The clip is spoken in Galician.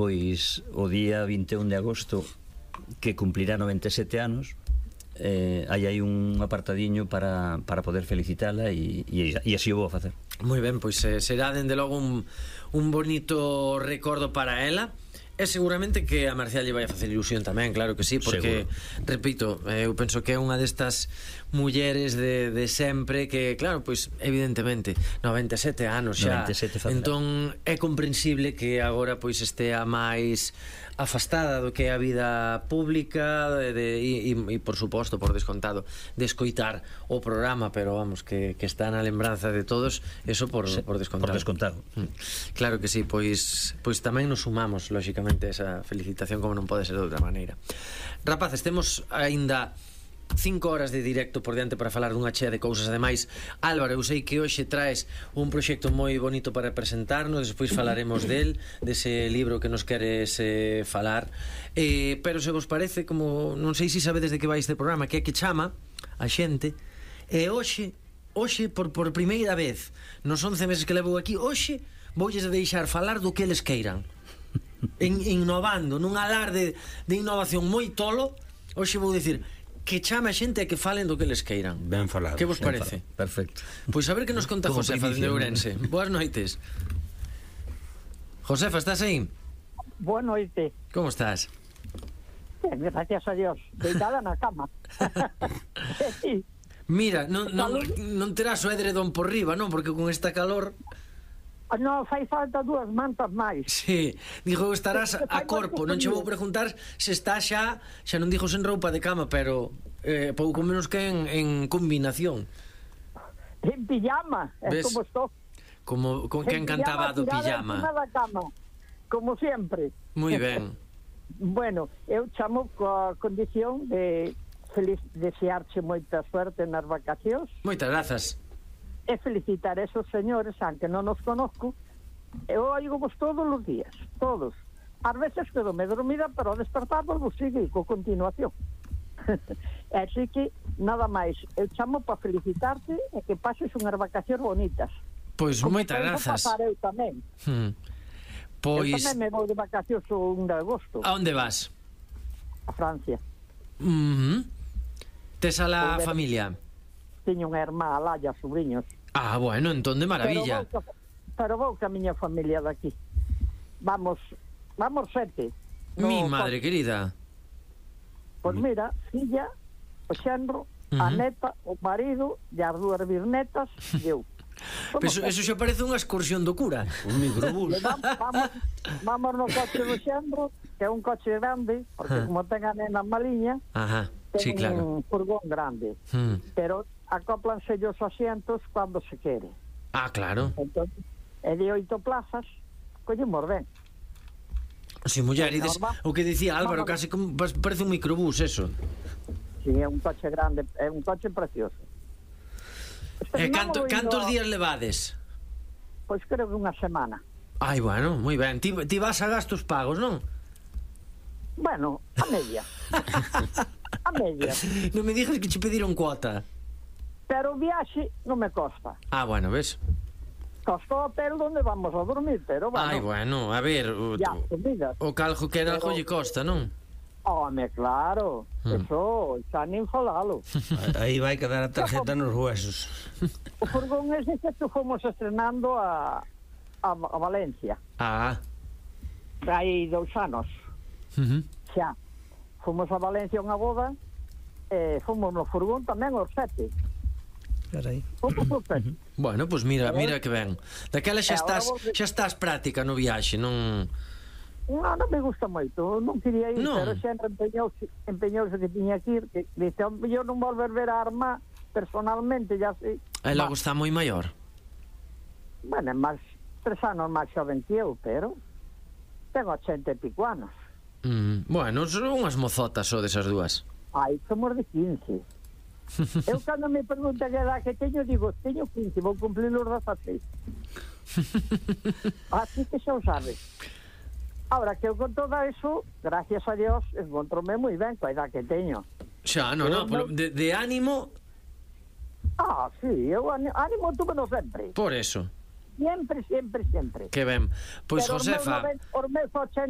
pois o día 21 de agosto, que cumplirá 97 anos, hai un apartadiño para poder felicitala, e así o vou a facer. Moi ben, pois será dende logo un bonito recordo para ela. E seguramente que a Marcial lle vai a facer ilusión tamén, claro que sí, porque, repito, eu penso que é unha destas mulleres de sempre que, claro, pois, evidentemente 97 anos xa, 97 entón é comprensible que agora pois estea máis afastada do que é a vida pública e por suposto, por descontado, de escoitar o programa, pero vamos, que está na lembranza de todos, eso por descontado. Por descontado. Claro que sí, pois tamén nos sumamos, lóxicamente, esa felicitación, como non pode ser de outra maneira. Rapaces, temos aínda 5 horas de directo por diante para falar dunha chea de cousas. Ademais, Álvaro, eu sei que hoxe traes un proxecto moi bonito para presentarnos, despois falaremos dese libro que nos queres falar, pero se vos parece, como non sei se sabedes de que vai este programa, que é que chama a xente, e hoxe por primeira vez nos 11 meses que levo aquí, hoxe voulles deixar falar do que eles queiran, innovando nun alarde de innovación moi tolo. Hoxe vou dicir que chame a xente e que falen do que les queiran. Ben falado. Que vos parece? Perfecto. Pois a ver que nos conta Josefa de Ourense. Boas noites. Josefa, estás aí? Boa noite. Como estás? Ben, gracias a Dios. Deitada na cama. Sí. Mira, non terás o edredón por riba, non? Porque con esta calor... Non, fai falta 2 mantas máis. Sí, digo, estarás a corpo. Non che vou preguntar se está xa non digo sen roupa de cama, pero pouco menos que en combinación. En pijama, é como estou. Como que encantaba do pijama. Da cama, como sempre. Moi ben. Bueno, eu chamo coa condición de desearche moita suerte nas vacacións. Moitas grazas. E felicitar a esos señores, aunque non os conozco, eu oigo-vos todos os días, todos. Ás veces quedo-me dormida, pero ao despertar vos sigo con continuación. Así que, nada máis, eu chamo para felicitarte e que pases unhas vacacións bonitas. Pois moitas grazas. Pasar eu tamén. Pois... Eu tamén me vou de vacacións o 1 de agosto. A onde vas? A Francia. Tes a la familia? Teño unha irmá, a Laia, sobrinhos. Ah, bueno, entón de maravilla. Pero vou ca miña familia daqui. Vamos 7. Mi madre querida. Pois mira, filla, o xenro, a neta, o marido e as 2 bisnetas e eu. Eso xa parece unha excursión do cura. Un microbús. Vamos no coche do xenro, que é un coche grande, porque como ten a nena maliña, sí, claro, un furgón grande, pero acóplanse os asientos cando se quere. Ah, claro. Entón, é de 8 plazas, collemos ben. Si, muller, o que dicía Álvaro, casi como parece un microbús, eso. Si, é un coche grande, é un coche precioso. Cantos días levades? Pois creo que unha semana. Ai, bueno, moi ben. Ti vas a gastos pagos, non? Bueno, a media. A media. Non me digas que che pediron cuota. Pero o viaxe non me costa. Ah, bueno, ves? Costa o hotel onde vamos a dormir, pero bueno. Ai, bueno, a ver, o caljo que era algo lle costa, non? Home, claro. Eso, xa nin falalo. Aí vai quedar a tarjeta nos huesos. O furgón ese que fomos estrenando a Valencia. Ah. Hai 2 anos. Xa. Fomos a Valencia a unha boda e fomos no furgón tamén os 7. Carai. Bueno, pois mira que ben. Daquela xa estás práctica no viaxe, non... Non me gusta moito, non quería ir, pero sempre empeñouse que tiña que ir, que dice, eu non volver ver a Arma personalmente, ya sei. E logo está moi maior. Bueno, é máis 3 anos máis xoven que eu, pero tengo 80 e pico anos. Bueno, son unhas mozotas só desas dúas. Ai, somos de 15. Eu cando me pregunta que edad que teño, digo, teño 15, vou cumplir os 16. Así que xa o sabes. Ahora que eu con todo eso, gracias a Dios, encontrome moi ben coa edad que teño. Xa, non, de ánimo... Ah, sí, eu ánimo tuve no sempre. Por eso. Sempre. Que ben. Pois, Josefa... Os meus 80